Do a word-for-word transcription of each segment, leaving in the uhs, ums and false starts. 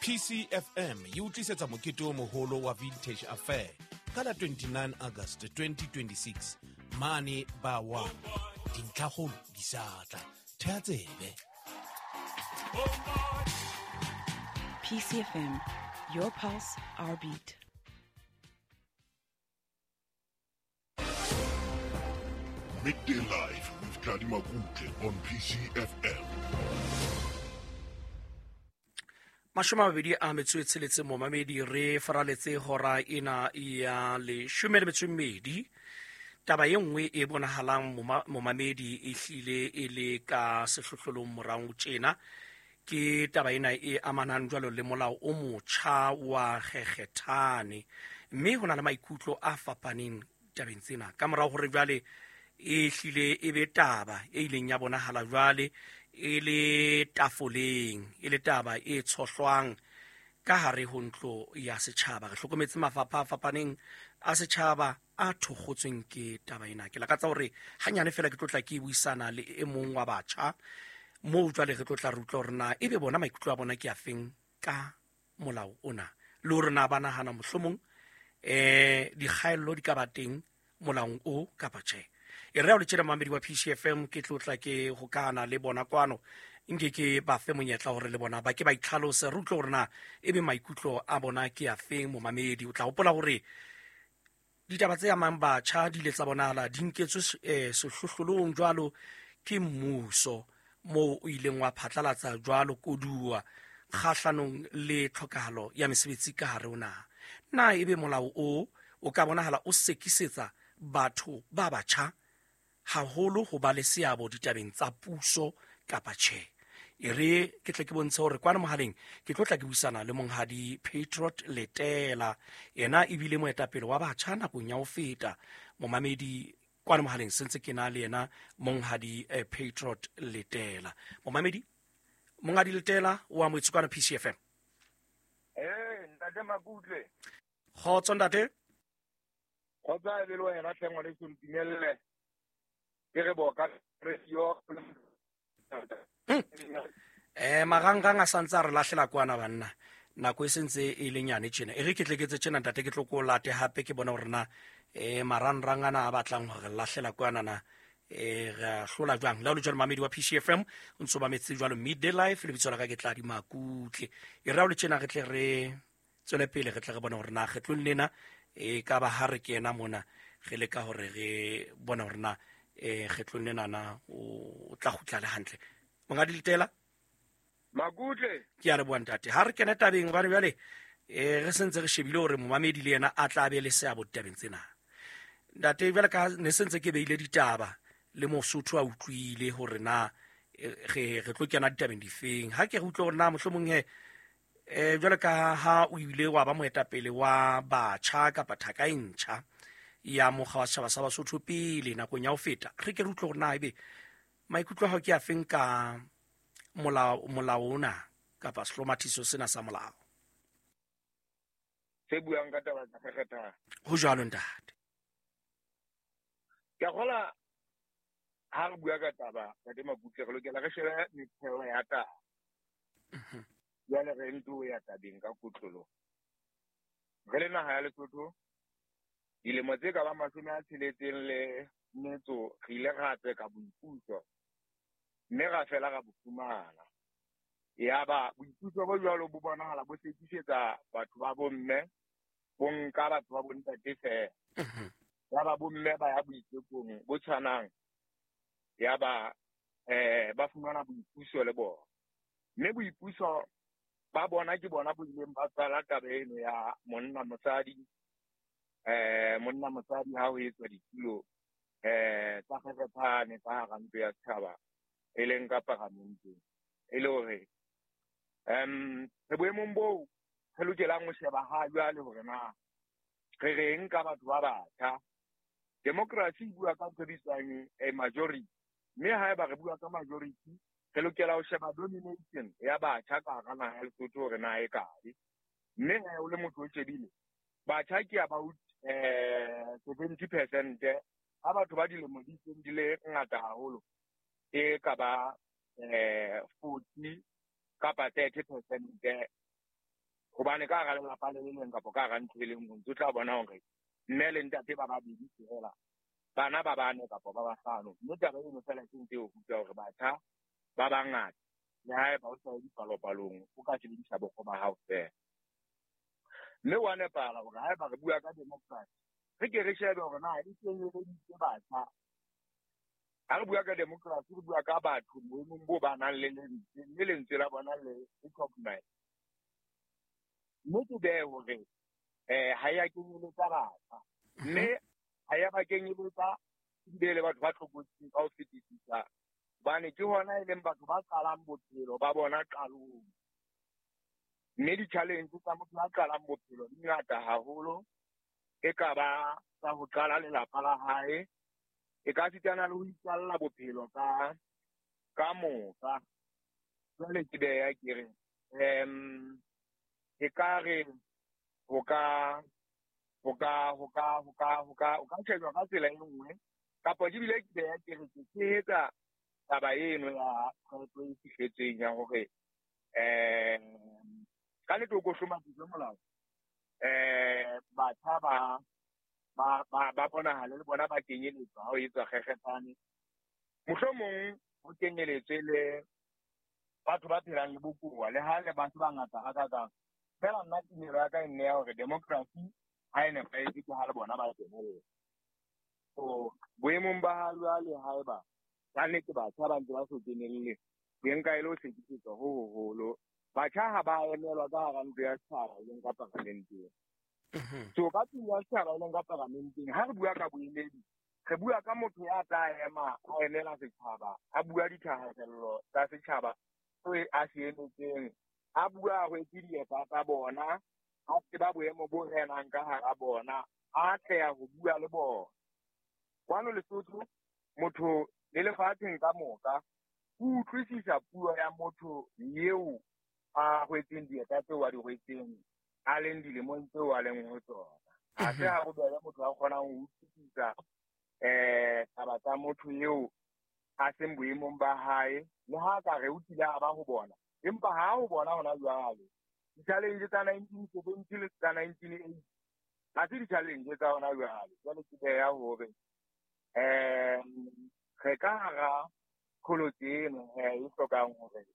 P C F M e o tlisetsa mokete o moholo wa Vintage Affair ka la twenty-nine August twenty twenty-six mane ba one. Dintlhakgolo di sa tla, thea tsebe. P C F M, your pulse, our beat. Midday Live with Tladi Makutle on P C F M. Mashome a mabedi a metso e tsheletseng, momamedi, re faraletse hora ena ya leshome le metso e mmedi. Taba e nngwe e bonahalang, moma- momamedi, e hlile e le ka sehlohlolong morao tjena ke taba ena e amanang jwalo le molao o motjha wa kgekgethane, mme ho na le maikutlo a fapaneng tabeng tsena ka morao hore jwale e hlile e be taba e ileng ya bonahala jwale e le tafoleng, e le taba e tshohlwang ka hare ho ntlo ya setjhaba. Re hlokometse mafapha a fapaneng a setjhaba a thokgotsweng ke taba ena. Ke lakatsa hore hanyane fela ke tlo tla ke buisana le e mong wa batjha moo jwale re tlo tla re utlwa hore na ebe bona maikutlo a bona ke afeng ka molao ona, le hore na ba nahana mohlomong um dikgaello di ka ba teng molaong o kapa tjhe. E re o le tjena, mamedi wa P C F M, ke tlotla ke hokana le bona kwano, nke ke ba fe monyetla hore le bona ba ke ba itlhalose, re utlwe hore na ebe maikutlo a bona ke afeng. Momamedi, o tla hopola hore ditaba tse amang batjha di ile tsa bonahala di nketswe eh, sehlohlolong jwalo ke mmuso, moo o ileng wa phatlalatsa jwalo koduwa kgahlanong le tlhokahalo ya mesebetsi ka hare ho naha. Na ebe molao o o ka bonahala o sekisetsa batho ba batjha haholo ho ba le seabo ditabeng tsa puso kapa tjhe? E re ke tle ke bontshe hore kwana mohaleng ke tlo tla ke buisana le monghadi Patriot Letela, yena ebile moetapele wa batjha nakong ya ho feta. Momamedi, kwana mohaleng sentse ke na le yena monghadi eh, Patriot Letela. Momamedi, monghadi Letela o amohetswe kwana P C F M. Eh, ntate Makutle. Kgotso, ntate. Kgotsa e be le wena tlhe, ngwaneso, ntumelle. Ke re boka radio. eh marangrang a santse a re lahlela kwana, banna, nako e sentse e le nyane tjena. E re ke tle ke etse tjena, ntate, ke tlo ko late hape, ke bone hore na eh marangrang ana a batlang hore re lahlela kwana na eh re a hlola jwang. Le ha o le jwalo, mamedi wa P C F M, o ntso mametse jwalo Midday Life, lebitso la ka ke Tladi Makutle. E re ha o le tjena, re tle re tswele pele, re tle re bone hore na kgetlong lena e ka ba ha re kena mona re leka hore re bone hore na eh kgetlong lena na o tla kgutla le hantle, monghadi Letela. Makutle. Ke a leboha, ntate. Ha re kene tabeng, hobane jwale eh re sentse re shebile hore momamedi le yena a tla be le seabo ditabeng tsena. Ntate, jwale ka ne sentse ke beile ditaba le Mosotho a utlwile hore na eh, re re tlo kena ditabeng difeng, ha ke re utlwe hore na mohlomong he eh jwale ka ha o ile wa ba moetapele wa batjha kapa thaka e ntjha ya mokga wa setjhaba sa Basotho pele nakong ya ho feta, re ke re utlwe hore na ebe maikutlo a hao ke afeng ka molao molao ona kapa sehlomathiso sena sa molao. Se buang ka taba tsa kgekgethana. Ho jwalo, ntate. Ke a kgola ha re bua ka taba, ntate Makutle, re lokela re shebe metheo ya taba. Jwale re nto ya tabeng ka kotloloho. Re le naha ya Lesotho, dilemo tse ka bang mashome a tsheletseng le metso re ile ra tseka boipuso, mme ra fela ra bo fumana. Yaba boipuso bo jwalo bo bonahala bo sekisetsa batho ba bomme, bo nka batho ba bontate feela. Yaba bomme ba ya boitekong bo tshwanang, yaba eh ba fumana boipuso le bona. Mme boipuso ba bona ke bona bo ileng ba tswala taba eno ya monna mosadi, eh monna mosadi ha ho etswa ditulo eh tsa kgekgethane ka hara ntlo ya setjhaba, e leng ka paramenteng. E le hore um re boemong boo re lokelang ho sheba ha jwale hore na re reng ka batho ba batjha. Democracy e bua ka ntho e bitswang a majority, mme haeba re bua ka majority, re lokela ho sheba domination ya batjha ka hara naha ya Lesotho hore na e kae. Mme he o le motho o shebile, batjha ke about eh seventy percent, ha batho ba dilemo di seng di le ngata haholo e ka ba eh forty kapa thirty percent. Hobane ka hara lelapa le le leng kapa ka hara ntlo e le nngwe o ntso tla bona hore mme le ntate ba babedi feela, bana ba bane kapa ba bahlano. Mme taba eno fela ke ntse e o ruta hore batjha ba bangata le haeba o sa ye dipalopalong o ka sebedisa bokgo ba hao feela. Mme wa nepahala hore haeba re bua ka democracy, re ke re shebe hore na e kenyeleditse batjha. Ha re bua ka democracy, re bua ka batho boemong bo ba nang le lentswe, mme lentswe la bona le recognize. Mme ke behe hore eh ha ya kenyeletsa batjha, mme ha ya ba kenyeletsa ebile le batho ba tlokotsing ka ho fetisisa, hobane ke hona e leng batho ba qalang bophelo ba bona qalong. Mme di-challenge tsa motho ya qalang bophelo di ngata haholo, e ka ba tsa ho qala lelapa la hae, e ka sitana le ho iqalla bophelo ka ka moka. Jwale ke beha ke re um e ka re ho ka ho ka ho ka ho ka ho ka o ka shejwa ka tsela e nngwe, kapa ke bile ke beha ke re ke tshehetsa taba eno ya qeto e fihletsweng ya hore um ka nnete o ko hlomatiswe molao, um batjha ba ba ba ba bonahale le bona ba kenyeletswa ha ho etswa kgekgetsane. Mohlomong ho kenyeletswe le batho ba phelang le bokowa, le ha le batho ba ngata hakakang. Fela nna tumelo ya ka e nne ya hore democracy ha e nepahetse ke ha le bona ba kenella. So boemong ba ha jwale haeba ka nnete batjha ba ntse ba so kenelle, ke nka e le ho hlekefetswa ho hoholo. Batjha ha ba emelwa ka hara ntlo ya setjhaba e leng ka paramenteng. So ka tlung ya setjhaba e leng ka paramenteng, ha re bua ka boemedi, re bua ka motho ya tla ema a emela setjhaba, a bua dithahasello tsa setjhaba seo a se emetseng, a bua a rwetse dieta tsa bona, a tseba boemo bo renang ka hara bona, a atleha ho bua le bona. Kwano Lesotho, motho le lefatsheng ka moka o utlwisisa puo ya motho eo a rwetseng dieta tseo a di rwetseng, a leng dilemong tseo a leng ho tsona. Ha se ha bobebe motho a kgonang ho utlwisisa um taba tsa motho eo a seng boemong ba hae, le ha ka re o kile a ba ho bona, empa ha ho bona hona jwale. Di-challenge tsa nineteen seventy le tsa nineteen eighty ha se di-challenge tsa hona jwale. Jwale ke beha hore um re ka hara qholotso eno e hlokang hore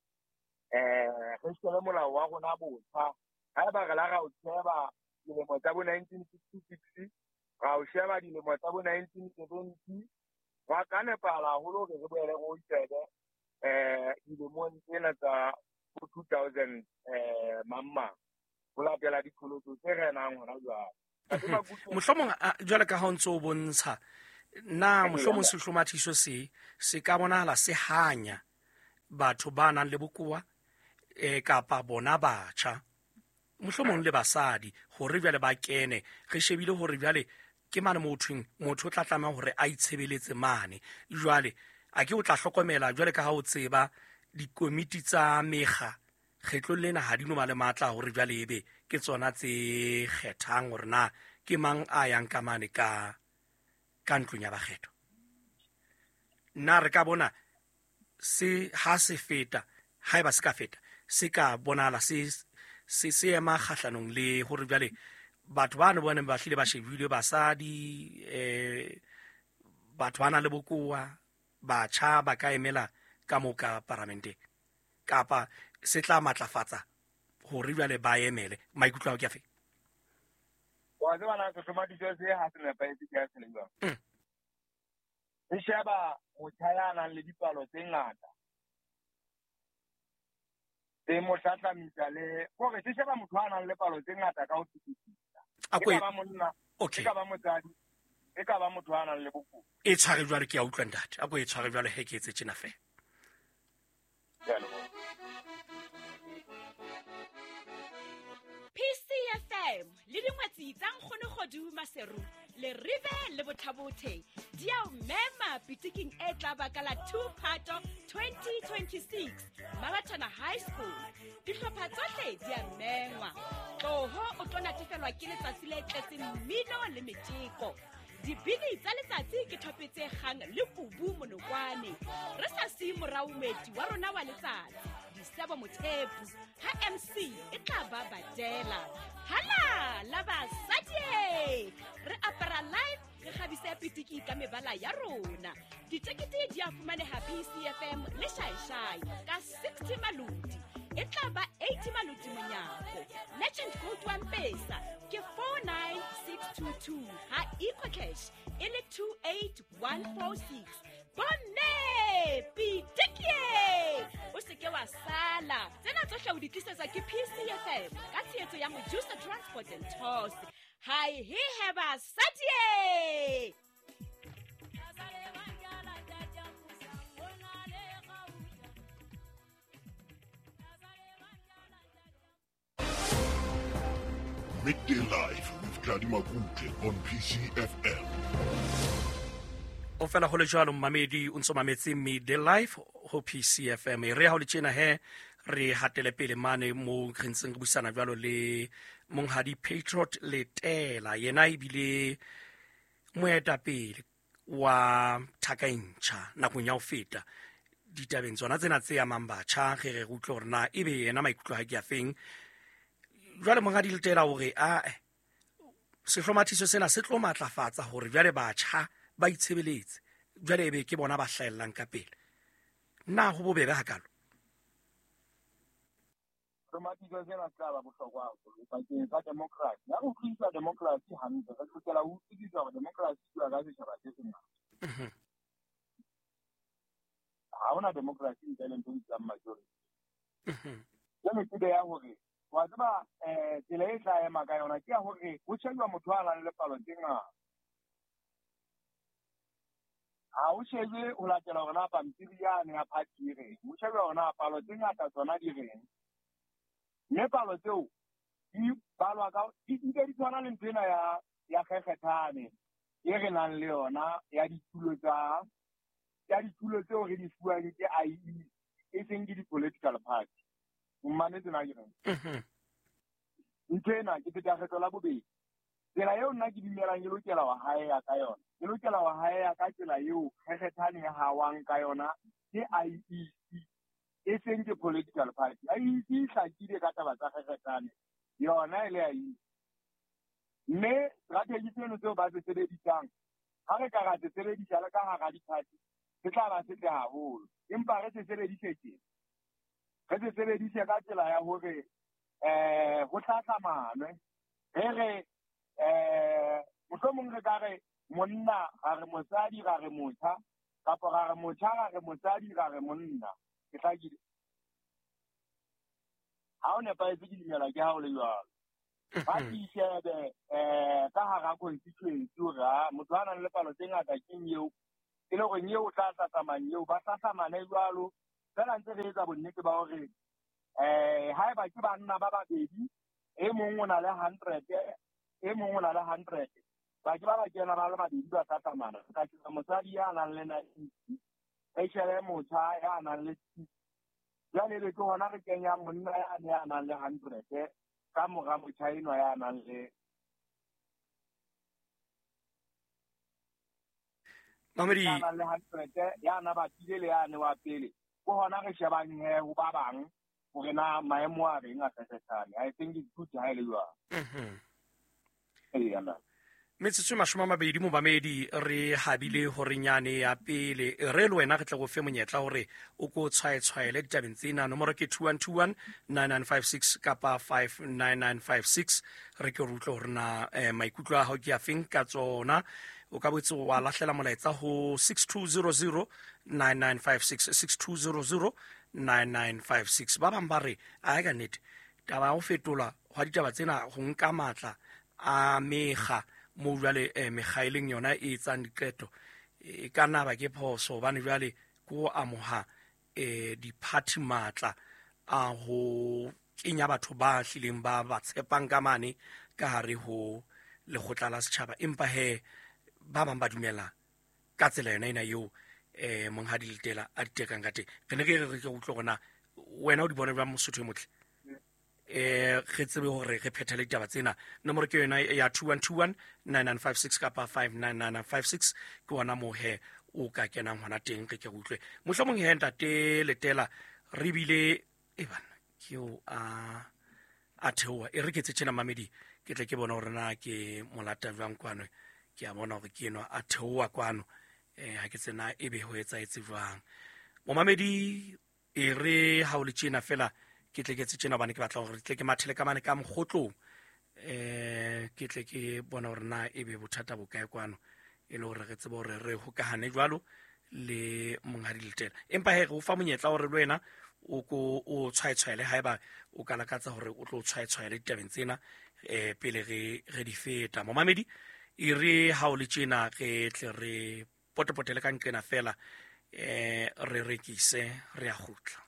eh re shebe molao wa rona botjha. Haeba re la ra o sheba dilemo tsa bo nineteen sixty-six, ra o sheba dilemo tsa bo nineteen seventy, wa ka nepahala haholo hore re boele re o shebe eh dilemong tsena tsa bo two thousand eh mang mang, ho latela diqholotso tse renang hona jwale. Mohlomong jwale ka ha o ntso o bontsha, na mohlomong sehlomathiso se se ka bonahala se hanya batho ba nang le bokowa eh kapa bona batjha, mohlomong le basadi, hore jwale ba kene. Re shebile hore jwale ke mane mothong motho o tla tlameha hore a itshebeletse mane. Jwale a ke o tla hlokomela jwale ka ha o tseba dikomiti tsa mekga kgetlong lena ha di no ba le matla hore jwale ebe ke tsona tse kgethang hore na ke mang a yang ka mane ka ka ntlong ya bakgetho. Nna re ka bona se ha se feta, haeba se ka feta, se ka bonahala se se se ema kgahlanong le hore jwale batho ba ne ba neng ba hlile ba shebilwe, basadi, eh batho ba nang le bokowa, batjha ba ka emela ka moo ka paramenteng, kapa se tla matlafatsa hore jwale ba emele. Maikutlo ao ke afe? Wa tseba na sehlomathiso se ha se nepahetse ke a se le jwang. Re sheba motjha ya nang le dipalo tse ngata, tse mo hlahlamisa le hore se sheba motho a nang le palo tse ngata ka ho fetisisa. E ka ba monna, e ka ba motsadi, e ka ba motho a nang le bokowa. E tshware jwale, ke a utlwa ntate. A ko e tshware jwale he ke etse tjena feela. Ke a leboha. P C F M le dingwetsi tsa Nkgono Kgodu Maseru le Rive le Bothabothe di a o mema pitiking e tla ba ka la two Phato twenty twenty-six Mabatana High School. Dihlopha tsohle di a mengwa. Tloho o tlo natefelwa ke letsatsi le tletseng mmino le metjeko. Dibini tsa letsatsi ke thope tse kgang le kubu monokwane. Re sa siye morao moeti wa rona wa letsatsi. Disebo Mothepu ha M C e tla ba badela. Hala la basadi, re apara live, re kgabise pitiki ka mebala ya rona. Ditekete di a fumaneha P C F M le Shaishai ka sixty maloti. E tla ba eighty maloti monyako. Legend code wa Mpesa ke four nine six two two ha EcoCash e le two eight one four six. Bomme pitiki, o se ke wa sala. Tsena tsohle o di tlisetswa ke P C F M ka tshehetso ya Mojusa Transport and Tours. Hi he heba satie. Midday Live with Tladi Makutle on P C F M. O fela ho le jwalo mmamedi o ntso mametse Midday Live ho P C F M. Re ha o le tjena he re hatele pele mane mo re ntseng re buisana jwalo le monghadi Patriot Letela, yena ebile moetapele wa Thaka e Ntjha nakong ya ho feta ditabeng tsona tsena tse amang batjha. Re re utlwe hore na ebe yena maikutlo ha ke a feng. Jwale monghadi Letela o re a sehlomathiso sena se tlo matlafatsa hore jwale batjha ba itshebeletse, jwale ebe ke bona ba hlahellang ka pele. Na ho bobebe hakalo? Hlomathiso sena se tla ba bohlokwa haholo bakeng sa democracy. Ha re utlwisisa democracy hantle, re lokela ho utlwisisa hore democracy e bua ka setjhaba se sengata. Ha hona democracy ntle le ntho e bitswang majority. Jwale ke ya hore wa tseba eh tsela e tla ema ka yona ke ya hore ho shejwa motho a nang le palo tse ngata. Ha o shejwe ho latela hore na pampiri yane ya party e reng, ho shejwa hore na palo tse ngata tsona di reng. Mme palo tseo di balwa ka di nke di tshwana le ntho ena ya ya kgekgethane e re nang le yona ya ditulo tsa ya ditulo tseo re di fuwang ke I E e seng ke di-political party. Mmametse na ke reng? Ntho ena ke feta kgetlo la bobedi. Tsela eo nna ke dumelang ke lokela wa haeya ka yona, ke lokela wa haeya ka tsela eo kgekgethane e hawang ka yona ke I E C e seng ke political party. I E C e hlakile ka taba tsa kgekgethane yona e le I E C. Mme strategy seno tseo ba se sebedisang ha re ka ra se sebedisa le ka hara di-party se tla ba setle haholo, empa re se sebedise tjena, re se sebedise ka tsela ya hore eh ho hlahlamanwe. Re re eh mohlomong re ka re monna ga re mosadi ga re motjha, kapa ga re motjha ga re mosadi ga re monna. Ke hlakile? Ha o nepahetse ke dumela ke ha o le jwalo. Ba di shebe eh ka hara constituency hore ha motho a nang le palo tse ngata keng eo, e le hore eo o tla hlahlamang eo, ba hlahlamane jwalo. Feela ntse re etsa bonnete ba hore eh haeba ke banna ba babedi, e mong o na le hundred, e mong o na le hundred, ba ke ba ba kena ba le babedi ba hlahlamana. Ka ke mosadi ya nang le ninety, re shebe motjha ya nang le sixty. Jwale ebe ke hona re kenyang monna yane ya nang le hundred ka mora motjha enwa ya nang le Mamedi ya nang le hundred, ya na batile le yane wa pele. Ke hona re shebang he ho ba bang hore na maemo a reng a kgekgethane. I think it's good ha e le jwalo. Mhm. Eya na. Metsotso e mashome a mabedi momamedi re habile horenyane ya pele. Re le wena re tle go fe monyetla hore o ko tshwaetshwaele ditabeng tsena. Nomoro ke two one two one nine nine five six kapa five nine nine five six. Re ke re utlwe hore na eh, maikutlo a hao ke a feng ka tsona. O ka boetse wa lahlela molaetsa ho six two zero zero nine nine five six, six two zero zero nine nine five six. Ba bang ba re a ka nnete taba ya ho fetola hwa ditaba tsena ho nka matla a mekga mo jwale eh, mekga e leng yona e etsang diqeto e ka nna ba ke phoso, hobane jwale ke ho amoha eh, di-party matla a ho kenya batho ba hlileng ba ba tshepang ka mane ka hare ho lekgotla la setjhaba. Empa he ba bang ba dumela ka tsela yona ena eo eh, monghadi Letela a di tekang ka teng. Re ne re re ke utlwe hore na wena o di bona jwang Mosotho e motle, eh re tsebe hore re phethele ditaba tsena. Nomoro ke yona ya two one two one nine nine five six kapa five nine nine nine five six. Ke ona moo he o ka kenang hona teng. Re ke re utlwe mohlomong he ntate Letela re bile E bana ke o a a theoha. E re ke tse tjena mamedi, ke tle ke bona hore na ke molata jwang kwano. Ke a bona hore ke enwa a theoha kwano. Eh ha ke tsena ebe ho etsahetse jwang. Momamedi, e re ha o le tjena fela ke tle ke tse tjena hobane ke batla hore tle ke mathele ka mane ka mokgotlong. Eh ke tle ke bona hore na ebe bothata bo kae kwano, e le hore re tsebe hore re hokahane jwalo le monghadi Letela. Empa he re o fa monyetla hore le wena o ko o tshwaetshwaele haeba o ka lakatsa hore o tlo tshwaetshwaele ditabeng tsena eh pele re re di feta. Momamedi, e re ha o le tjena re tle re potepotele ka nqena fela eh re rekise re a kgutla.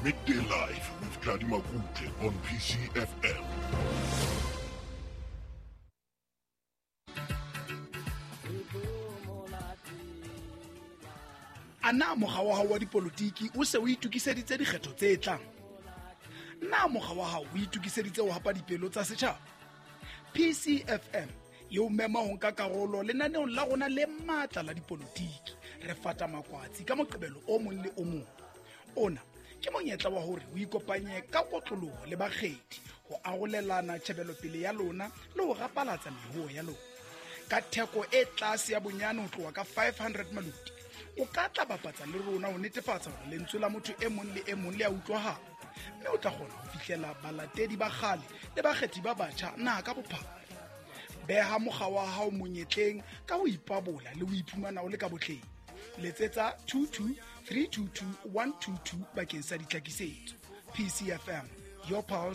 Midday Live with Tladi Makutle on P C F M. A na mokga wa hao wa dipolotiki o se o itokiseditse dikgetho tse tlang? Na mokga wa hao o itokiseditse ho hapa dipelo tsa setjhaba? P C F M e o mema ho nka karolo lenaneong la rona le matla la dipolotiki. Re fata makwatsi ka Moqebelo o mong le o mong. Ona ke monyetla wa hore o ikopanye ka kotloloho le bakgethi ho arolelana tjhebelopele ya lona le ho rapalatsa mehoo ya lona. Ka theko e tlase ya bonyane ho tloha ka five hundred maluti, o ka tla bapatsa le rona ho netefatsa hore lentswe la motho e mong le e mong le a utlwahala, mme o tla kgona ho fihlela balatedi ba kgale le bakgethi ba batjha naha ka bophara. Beha mokga wa hao monyetleng ka ho ipabola le ho iphumana o le ka botleng. Letsetsa two two three two two one two two bakeng sa ditlhakisetso. P C F M, your pulse,